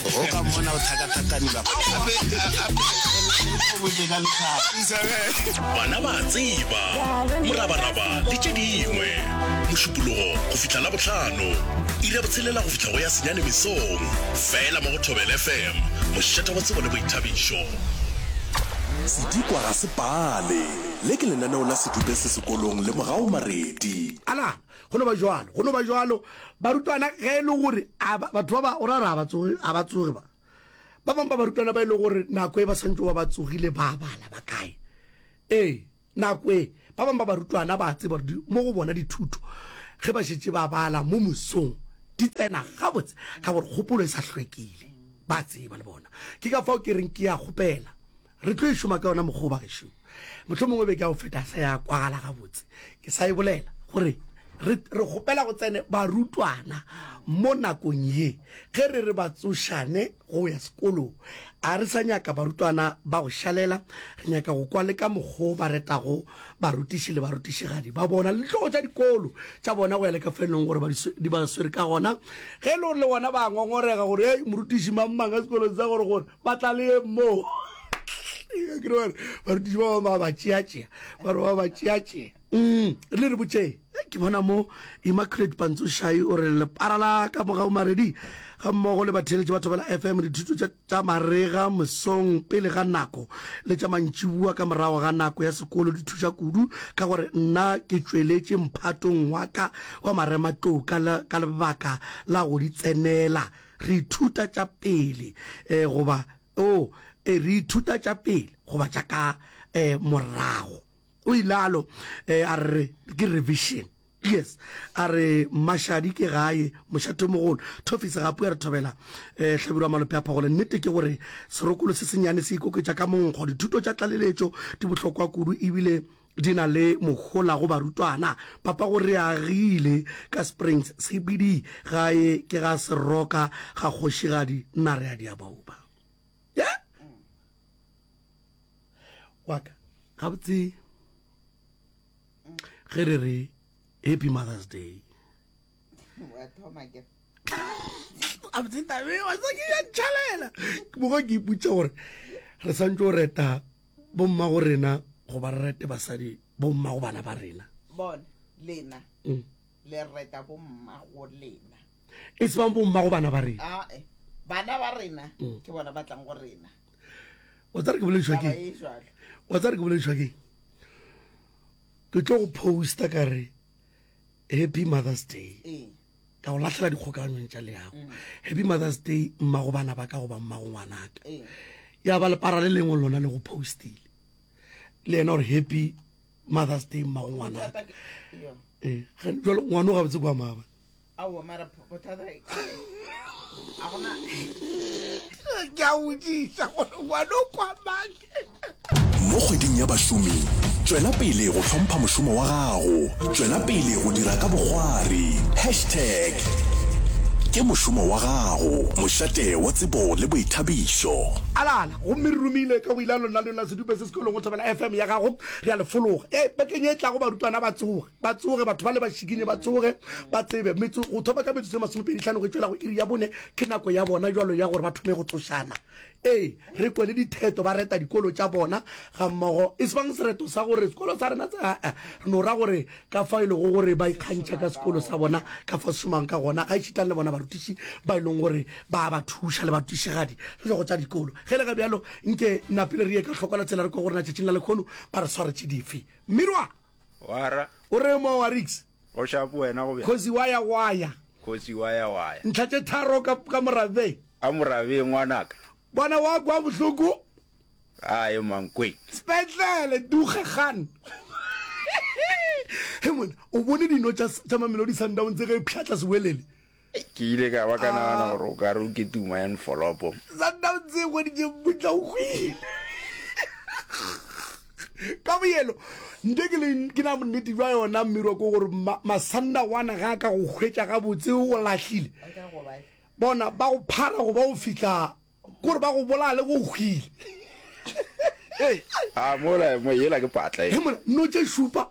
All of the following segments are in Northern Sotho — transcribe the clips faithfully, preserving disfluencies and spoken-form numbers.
O ka mmona o tlhakatlhakanelwa. Gape gape o botse ka lethabo. Bana ba a tseba, morabaraba le tše dingwe. Mošupologo go fihla Labohlano, iri ya botshelela go fihla go ya senyane mesong, fela mo go Thobela F M, mošate wa tsebo le boithabišo. Sedikwa ga se pale. Le ke lenaneo la Sedupe se sekolong le Mogau Maredi. Ala, go no ba jwalo, go no ba jwalo. Barutwana ge e le gore a ba, batho ba ba, o ra re a ba tsoge, a ba tsoge ba. Ba bangwe ba barutwana ba e le gore nako e ba swantse ba ba tsogile ba bala ba kae. Ee, nako e, ba bangwe ba barutwana ba tseba gore mo go bona dithuto ge ba šetše ba bala mo mosong di tsena gabotse ka gore kgopolo e sa hlwekile. Ba tseba le bona. Ke ka fao ke reng ke a kgopela. Re tlo e šoma ka yona mokgwa o bagešo. Mohlomongwe beke ya go feta sa ya kwagala gabotse. Ke sa e bolela gore re, re kgopela go tsene barutwana mo nakong ye ge re re ba tsošane go ya sekolong. A re sa nyaka barutwana ba go šalela, re nyaka go kwa le ka mokgwa o ba retago barutiši le barutišigadi ba bona le dihloko tša dikolo tša bona go ya le ka fa e leng gore ba di, di ba swere ka gona. Ge e le gore le bona ba ngongorega gore hei morutiši mang mang ka sekolong sa gore gore ba tla le ye moo. Ke re bare barutiši ba bangwe ba ba tšeatšea, ba re ba ba tšeatšea. Mm, le re botšeng. Ke bona mo Immaculate Pantsošai o re lepara la ka mogau Maredi ga mmogo le batheeletši ba Thobela F M dithuto tša tša marega mesong pele ga nako le tša mantšiboa ka morago ga nako ya sekolo di thuša kudu ka gore nna ke tšweletše mphatong wa ka wa marematlou ka ka lebaka la go di tsenela. Re ithuta tša pele eh, goba oh, eh, re ithuta tša pele goba tša ka eh, morago. O ilalo eh, a re ke revision. Yes, a re Mmašadi ke gae mošatomogolo. Thofisi gape a re thobela eh, Hlabirwa Malope a Phagole. Nnete ke gore serokolo se senyane se ikoketša ka monkgo. Dithuto tša tlaleletšo di bohlokwa kudu ebile di na le mohola go barutwana. Papa go re agile ka Springs C B D gae ke ga Seroka ga Kgošigadi nna re a diabauba. Yeah? Wa ka gabotse ge re re Happy Mother's Day. Wa thoma ke. Gabotse tabe wa sa ke ya ntšhalela. Mogo ke ipotša gore re santse o reta bomma go rena goba re rete basadi bomma go bana ba rena. Bona lena Mm. le reta bomma go lena. E se bang bomma go bana ba rena. Ah, eh. Bana ba rena Mm. ke bona ba tlang go rena. Wa tsare ke boledišwa Taba ke e jwalo. wa tsare ke boledišwa ke ke tlo go posta ka re Happy Mother's Day. Ee. Ka go lahlela dikgokaganyong tša leago. Happy Mother's Day mma go bana ba ka goba mma go ngwanaka. Ee. Ya ba lepara le lengwe lona le go postile. Le yena gore Happy Mother's Day mma go ngwanaka. Bothata ke- yo. Eh, ge- jwale ngwana o gabotse kwa maaba. Aowa, mara bothata a gona. Ke a botšiša gore ngwana o kwa mang. Mo kgweding ya bašomi, tšwela pele go hlompha mošomo wa gago. Tšwela pele go dira ka bokgwari. Hashtag ke mošomo wa gago. Mošate wa tsebo le boithabišo. Alala, gomme re romile ka go ile lona le la sedupe se sekolong go Thobela F M ya gago. Re a le fologa. E, bekeng e tlago barutwana ba tsoge, ba tsoge, batho ba le ba šikinye ba tsoge, ba tsebe. Metso, go thoma ka metsotso e masomepedi hlano go tšwela go iri ya bone, ke nako ya bona jwalo ya gore ba thome go tsošana. Ee, re kwe le ditheto ba reta dikolo tša bona ga mmogo. E se bang sereto sa gore sekolo sa rena se, aa, re no ra gore ka fao e lego gore ba ikgantšha ka sekolo sa bona, ka fao se šomang ka gona, ga ešita le bona barutiši ba e leng gore ba ba thuša le barutišigadi le go tša dikolo. Ge le ga bjalo, nke napile re ye ka hloko la tsela re kwe gore na tšatšing la lekhono ba re swaretše dife. Mmirwa! Wara. O re mo wa Rix? O shapo wena go bjang? Kgosi wa ya wa ya. Kgosi wa ya wa ya. Ntlha tše tharo ka, ka morabeng. Ka morabeng ngwanaka. Bona wa kwa bohloko. Ae Mankweng. Sepetlele duge gan. He monna, o bone dino tša, tša Mamelodi Sundowns ge e pšhatla sewelele? Ke ile ka ba ka nagana gore o ka re o ke tuma ya nfolopo. Sundowns e hweditše mmutla o hwile. Ka boyelo, nte ke le ke na bonnete bja yona mmirwa ke gore ma, Masandawana ga a ka go hwetša gabotse o lahlile. Bona ba go phara go ba o fihla kore ba go bolaya le go hwile. A mola mo yela ke patla e. He mona no tše šupa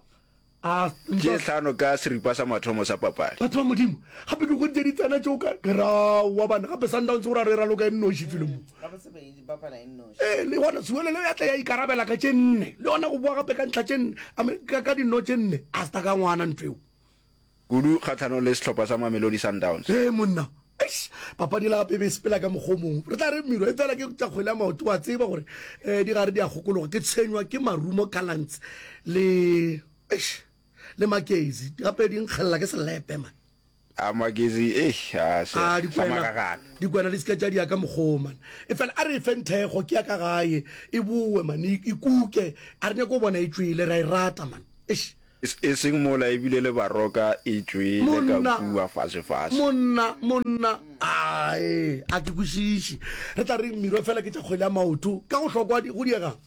A Tše hlano ka seripa sa mathomo sa papadi. Batho ba Modimo, gape ke hweditše di tsena tšeo ka ke ra wa bana gape Sundowns go ra re raloka e nnoši felo mo. Gabotse be e bapala e nnoši. Ee, le gona Siwelele ya tla ya ikarabela ka tše nne, le yona go boa gape ka ntlha tše nne, I mean, ka, ka dino tše nne, a se ta ka ngwana ntho eo. Kudu kgahlanong le sehlopha sa Mamelodi Sundowns. Ee monna, eish, papadi yela gape e be e sepela ka mokgwa o mongwe. Re tla re miro, efela ke tša kgwele ya maoto, wa tseba gore um di gare di a kgokologa. Ke tshwenywa ke Marumo Gallants le, eish, le Magezi, gape di nkgelela ke selepe man. A Magezi, eish, a se, A sa dikwena, magagana. dikwena di se ke tša di ya ka mokgwa o man. Efela a re e feng thekgo, ke ya ka gae, e bowe man, e, e kuke. A re nyake go bona e tšwele, re a e rata man. Eish. E seng mola ebile le Baroka e tšwele ka Monna, kua fasefase. monna, monna, ae, a ke kwešiše. Re tla reng miro fela ke tša kgwele ya maoto, ka go hlokwa di, go diegang?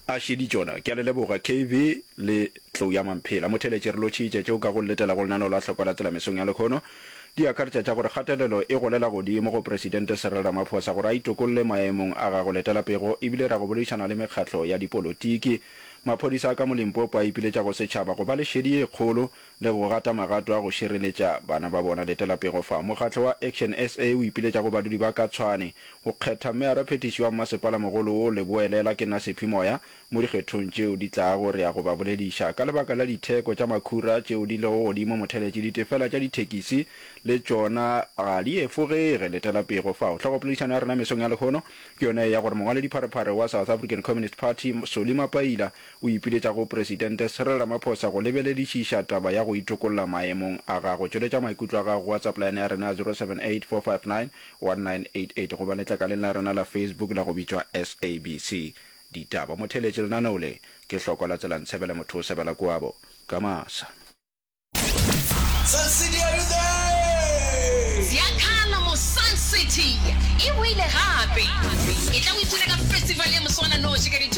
A šedi tšona. Ke a le leboga, K V le Tlou ya Mamphela. Motheeletši, re lotšhitše tšeo ka go letela go lenaneo la Hlokwa la Tsela mesong ya lekhono. Di akaretša tša gore kgatelelo e golela godimo go Presidente Cyril Ramaphosa gore a itokolle maemong a gagwe letela pego ebile ra go boledišana le mekgatlo ya dipolotiki. Maphodisa a ka mo Limpopo a ipiletša go setšhaba go ba le šedi ye kgolo le go gata magato a go šireletša bana ba bona. Letela pego fa. Mokgatlo wa Action S A o ipiletša go badudi ba ka Tshwane go kgetha meyaraphethiši wa mmasepalamogolo wo leboelela ke nna Sephi Moya mo dikgethong tšeo di tlago. Re ya go ba bolediša ka lebaka la ditheko tša makhura tšeo di lego godimo motheletši ditefela tša dithekisi le tšona ga di efogege. Letela pego fao. Hlogopoledišano ya rena mesong ya lehono ke yona ye ya gore mongwaledipharephare wa South African Communist Party Solly Mapaila o ipiletša go Presidente Cyril Ramaphosa go lebeledišiša taba ya go itokolla maemong a gagwe. Tšweletša maikutlo a gago go WhatsApp line ya rena ya zero seven eight four five nine one nine eight eight goba letlakaleng la rena la Facebook la go bitšwa S A B C Ditaba. Motheeletši lenaneo le ke hlokwa la tsela ntshebele motho o sebela koabo ka masa. Sun City, are you there? Ziakhala mo Sun City e boile gape. E tla o ipshine ka festival ya moswananoši ka di twenty